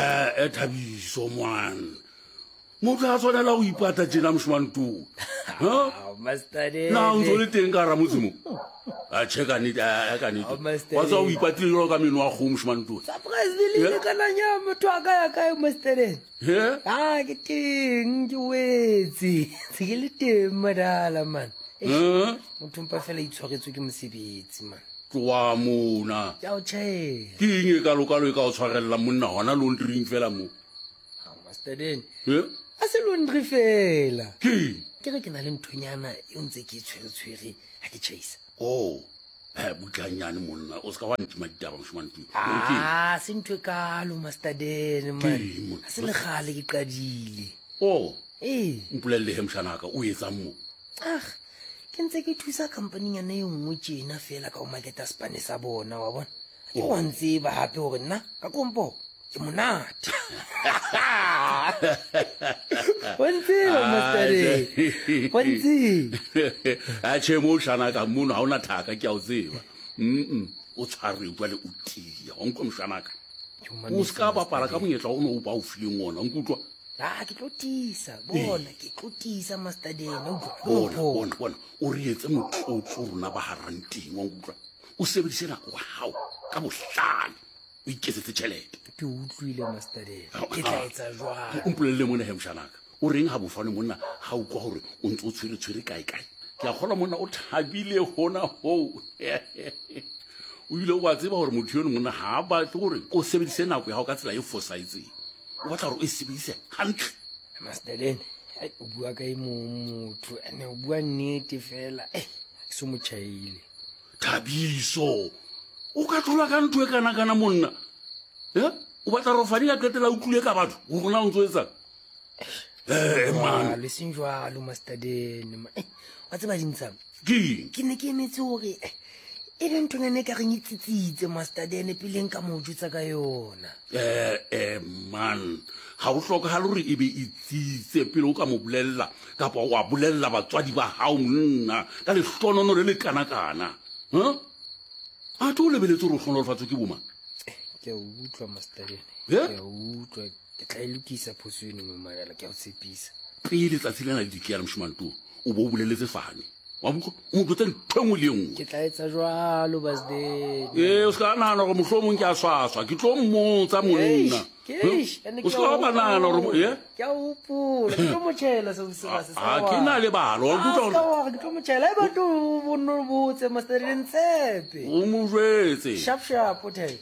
Ee, Thabiso mwan. Motho a tshwanela go ipata tjena moshemane too. Ha? Master Na o ntse o le teng ka hara motse mo? A che ka nnete, a ka nnete. Oh, Master Wa tseba o ipatile jwalo ka meno a kgomo moshemane too. Surprise le le Yeah. ka nanya motho a ka ya kae Master He? Ah, ke teng ke wetse. Se ke le teng madala man. Eish, Eh? Motho mpa fela itshwaretswe ke mosebetsi man. Tloa mona. Ke a o tjhaela. Ke eng e kalokalo e ka o tshwarellang monna hona laundryng fela mo? Ah, Master Den. He? A se laundry fela. Ke eng? Ke re ke na le nthonyana e ntse ke e tshwere-tshwere ha ke tjhaisa. Oh. He, butlanyane monna, o se ka wa ntima ditaba moshemane too. Ke eng? Ah, se ntho e kalo Master Den man. Ke eng monna? Ha se le kgale ke qadile. Oh. Ee. Mpolelle he moshanaka, o etsang mo? Ah, ke ntse ke thusa companynyana e nngwe tjena fela ka go marketa sepane sa bona wa bona. Ke wa ntseba gape gore nna ka kompo ke monate. Wa ntseba Master D. Wa ntseba. Atjhe mo shanaka mono ha ona thaka ke a o tseba. Mm. O tshware jwale o tiya. Wa nkutlwa moshanaka. O se ka bapala ka monyetla o no o ba o fileng ona. Nkutlwa. A ke tlo tiisa bona ke tlo tiisa Master D. Utlwa. Bona bona bona o re etse motlotlo rona ba haranteng wa nkutlwa. O sebedise nako wa hao ka bohlale. O iketsetse tjhelete. Ke utlwile Master D. Ke tla etsa jwang? O mpolelle mona he moshanaka. O reng ha bofane monna ha utlwa hore o ntse o tshwere tshwere kae kae? Ke a kgolwa monna o thabile hona hoo. O ile wa tseba hore motho yono monna ha a batle hore o sebedise nako ya hao ka tsela e fosahetseng. O batla hore o e sebedise hantle. Master Den, ai, o bua ka e mong motho, ene o bua nnete fela. Eh, ke so mo tjhaile. Thabiso, o ka thola ka ntho e kana-kana monna. Eh? O batla hore Fani a qetela a utlwile ka batho hore na o ntso etsang? Eh, man. Jwalo, e seng jwalo Master Den. ma- Eh, wa tseba dintshang? Ke eng? Ke ne ke emetse hore eh, e be nthonyana e ka reng e tsitsitse Master Den pele nka mo jwetsa ka yona. Eh, eh, man. Ga o hlokagale gore e be e tsitse pele o ka mo bolella kapa wa bolella batswadi ba hao monna ka lehlonono le le kana-kana. Huh? A tlo o lebeletse gore o hlonolofatswe ke bomang? Ke a utlwa Master Den. Eh? Ke a utlwa. Ke tla e lokisa phoso eno mo Mayala, ke a o tshepisa. Pele tsatsi lena le dikela moshemane too, o bo o boleletse Fane. Wa mo utlwa? O mo jwetse ntho e nngwe le e nngwe. Ke tla etsa jwalo Basden. Ee, o se ka nahana gore mohlomong ke a swaswa, ke tlo mmotsa monna. Eish, ene O ke se ka a wa ba nahana gore hopola. eh? Ke a hopola, ke tlo mo tjhela seo se se sa Ha ke na lebalo, wa Ah, nkutlwa se ka gore wa re ke tlo mo tjhela. Eba tlo bo nno botse Master Den Tshepe. o mo jwetse. Sharp sharp o the.